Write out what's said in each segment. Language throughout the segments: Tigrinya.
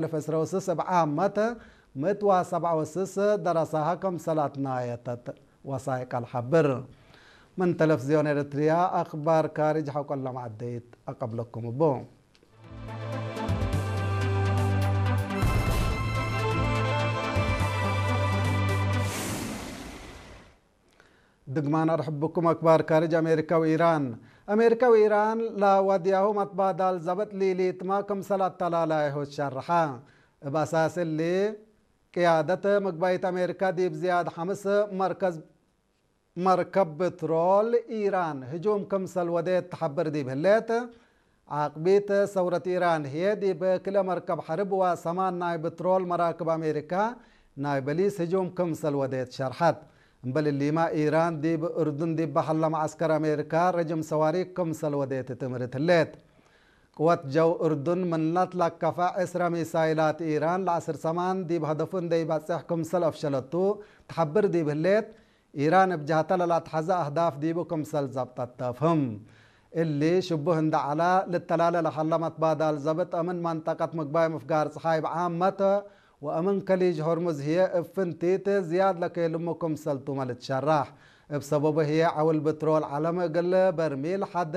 ክልፍ ዕስራ ወስስ እብ ዓመት ምእት ወሰብዓ ወስስ ደረሳሃ ከም ሰላትና የተት ወሳይቃል ሓብር። ምን ተለፍዝዮን ኤርትርያ ኣኽባር ካርጅ ሓቆሎም ዓደይት ኣቀብለኩም እቦ። ድግማን ኣርሕብኩም ኣክባር ካርጅ ኣሜሪካ ወኢራን። ኣሜሪካ ወኢራን ላዋድያሁ ማትባዳል ዘበጥ ሊሊትማ ክምሰል ኣተላላይሁ ሸርሓ። እብ ኣሳስ እሊ ቅያደት ምግባይት ኣሜሪካ ዲብ ዝያድ ሓምስ መርከዝ መርከብ ብትሮል ኢራን ህጁም ክምሰል ወዴት ትሓብር ዲብ ህሌት፣ ዓቅቢት ሰውረት ኢራን ህዬ ዲብ ክልኤ መርከብ ሐርብ ወሰማን ናይ ብትሮል መራክብ ኣሜሪካ ናይ በሊስ ህጁም ክምሰል ወዴት ሸርሐት። እምበል እሊማ ኢራን ዲብ እርዱን ዲብ በሐላ መዓስከር ኣሜሪካ ረጅም ሰዋሪክ ክምሰል ወዴት ትእምርት ህሌት። ቅወት ጀው እርዱን ምን ለትለከፈ ዕስራ ሚሳይላት ኢራን ለዐስር ሰማን ዲብ ሀደፉ እንዴ ይበጽሕ ክምሰል አፍሸለቱ ትሐብር ዲብ ህሌት፣ ኢራን እብ ጀሀተ ለላትሐዘ አህዳፍ ዲቡ ክምሰል ዘብጠት ተፍህም። እሊ ሽቡህ እንደ ዐለ፣ ልተላለ ለሀለ መትባዳል ዘብጥ እምን መንጠቀት ምግባይ ምፍጋር ጸሓይ ብዓመት ወእምን ከሊጅ ሆርሙዝ ህዬ እብ ፍንቲት ዝያድ ለኬልሙ ክምሰልቱመ ልትሸራሕ። እብ ሰበቡ ህዬ ዐውል ብትሮል ዐለም እግል በርሚል ሐደ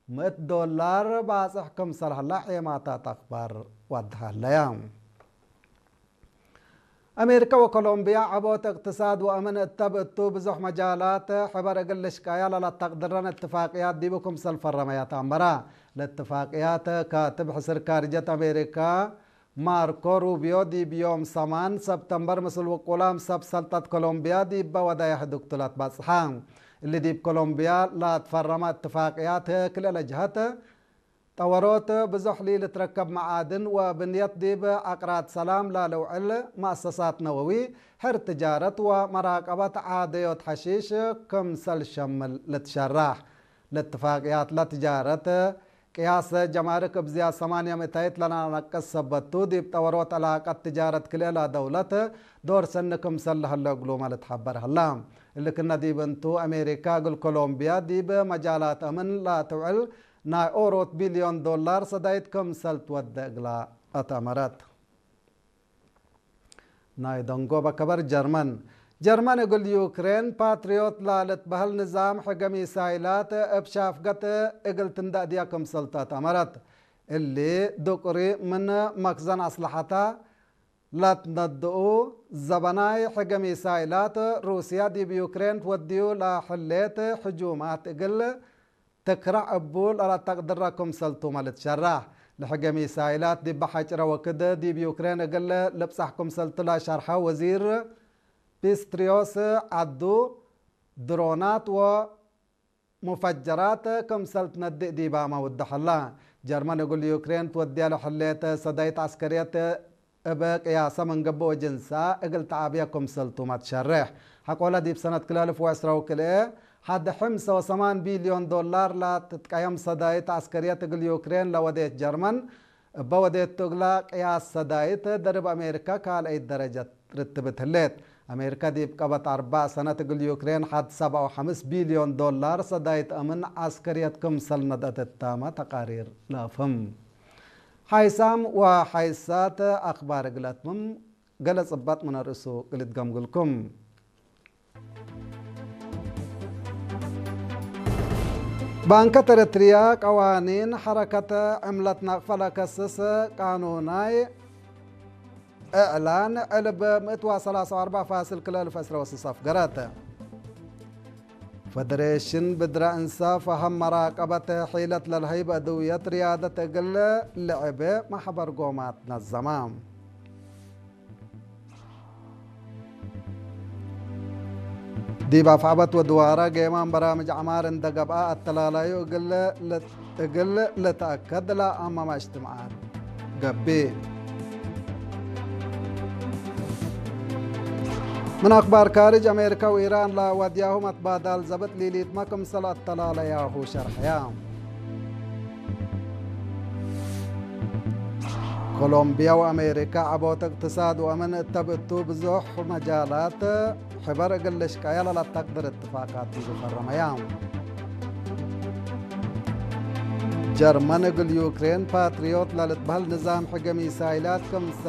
ምእት ዶላር ባጽሕ ክምሰል ሀላ ዔማታት አኽባር ወድሃለያ። አሜሪካ ወኮሎምቢያ ዐቦት እቅትሳድ ወአምን እተብ እቱ ብዙሕ መጃላት ሕበር እግል ልሽቀያ ለለተቅድረን እትፋቅያት ዲቡ ክምሰል ፈረመያ ተአመራ። ለእትፋቅያት ካትብ ሕስር ካርጀት አሜሪካ ማርኮ ሩቢዮ ዲብ ዮም ሰማን ሰብተምበር ምስል ውቁላም ሰብ ሰልጠት ኮሎምቢያ ዲበ ወደየ ህዱግቱ ለትበጽሐ። እሊ ዲብ ኮሎምቢያ ለትፈረመ እትፋቅያት ክልኤ ለጅሀት ጠወሮት ብዙሕ ሊልትረከብ መዓድን ወብንየት ዲብ አቅራድ ሰላም ላልውዕል መአሰሳት ነወዊ፣ ሕር ትጃረት ወመራቀበት ዓደዮት ሐሺሽ ክምሰል ሸምል ልትሸራሕ። ለትፋቅያት ለትጃረት ቅያስ ጀማርክ እብ ዝያድ ሰማንያ ምእታይት ለናነቅስ ሰበቱ፣ ዲብ ጠወሮት ዕላቀት ትጃረት ክልኤ ለደውለት ዶር ሰኒ ክምሰል ለሀለ እግሉመ ልትሐበር ሀላ። እሊ ክነ ዲብ እንቱ፣ አሜሪካ እግል ኮሎምቢያ ዲብ መጃላት አምን ለትውዕል ናይ ኦሮት ቢልዮን ዶላር ሰዳይት ክምሰል ትወደ እግላ አትአመረት። ናይ ደንጎበ ከበር ጀርመን። ጀርመን እግል ዩክሬን ፓትሪዮት ላልትበህል ንዛም ሕገ ሚሳይላት እብ ሻፍገት እግል ትንደእድያ ክምሰልቱ አትአመረት። እሊ ዱቅሪ ምን መክዘን አስለሐታ ላትነድኡ ዘበናይ ሕገ ሚሳይላት ሩስያ ዲብ ዩክሬን ትወድዩ ለሕሌት ሕጁማት እግል ትክራዕ እቡ ለለተቅድረ ክምሰልቱመ ልትሸራሕ። ለሕገ ሚሳይላት ዲብ ሐጭረ ወክድ ዲብ ዩክሬን እግል ልብጻሕ ክምሰልቱ ለሸርሐ ወዚር ፒስትሪዮስ ዐዱ፣ ድሮናት ወ ሙፈጀራት ክምሰል ትነድእ ዲባመ ውድሐላ። ጀርመን እግል ዩክሬን ትወድያ ለሐሌት ሰዳይት ዐስከርየት እብ ቅያሰ ምን ገብእ ወጅንሳ እግል ተዓብያ ክምሰልቱመ ትሸሬሕ። ሐቆለ ዲብ ሰነት ክልኤ አልፍ ወዕስራ ወክልኤ ሐድ ሕምሰ ወሰማን ቢልዮን ዶላር ለትትቀየም ሰዳይት ዐስከርየት እግል ዩክሬን ለወዴት ጀርመን፣ እበ ወዴቱ እግላ ቅያስ ሰዳይት ደርብ አሜሪካ ካልአይት ደረጀት ርትብት ህሌት። አሜሪካ ዲብ ቀበት አርባዕ ሰነት እግል ዩክሬን ሐድ ሰብዓ ወሐምስ ቢልዮን ዶላር ሰዳይት አምን ዐስከርየት ክምሰል ነድአት እታመ ተቃሪር ለአፍህም። ሓይሳም ወሓይሳት ኣኽባር እግል አትምም ገለ ጽባጥ ምን አርእሱ እግል እትገምግልኩም። ባንከት ኤረትርያ ቀዋኒን ሐረከት ዕምለት ናቅፈ ለከስስ ቃኑናይ እዕላን ዕልብ ምእት ወሰላሳ ወአርባዕ ፋስል ክልተ አልፍ ዕስራ ወስስ አፍገረት። ፈደሬሽን ብድረ እንሰ ፈሀም መራቀበት ሒለት ለልሀይብ አድውየት ርያደት እግል ልዕብ ማሕበር ጎማት ነዘማ። ዲብ አፍዐበት ወድዋረ ጌማን በራምጅ ዐማር እንደ ገብአ አተላላዩ እግል እግል ልትአከድ ለአመመ እጅትምዓት ገብእ። ምን አክባር ካርጅ፣ አሜሪካ ወኢራን ለወድያሁ መትባዳል ዘብጥ ሊሊትመ ክምሰል አተላለያሁ ሸርሐያ። ኮሎምቢያ ወአሜሪካ ዐቦት እቅትሳድ ወአምን እተብ እቱ ብዙሕ መጃላት ሕበር እግል ልሽቀያ ለለተቅድር እትፋቃት ዲቡ ፈረመያ። ጀርመን እግል ዩክሬን ፓትሪዮት ለልትበህል ንዛም ሕገ ሚሳይላት ክም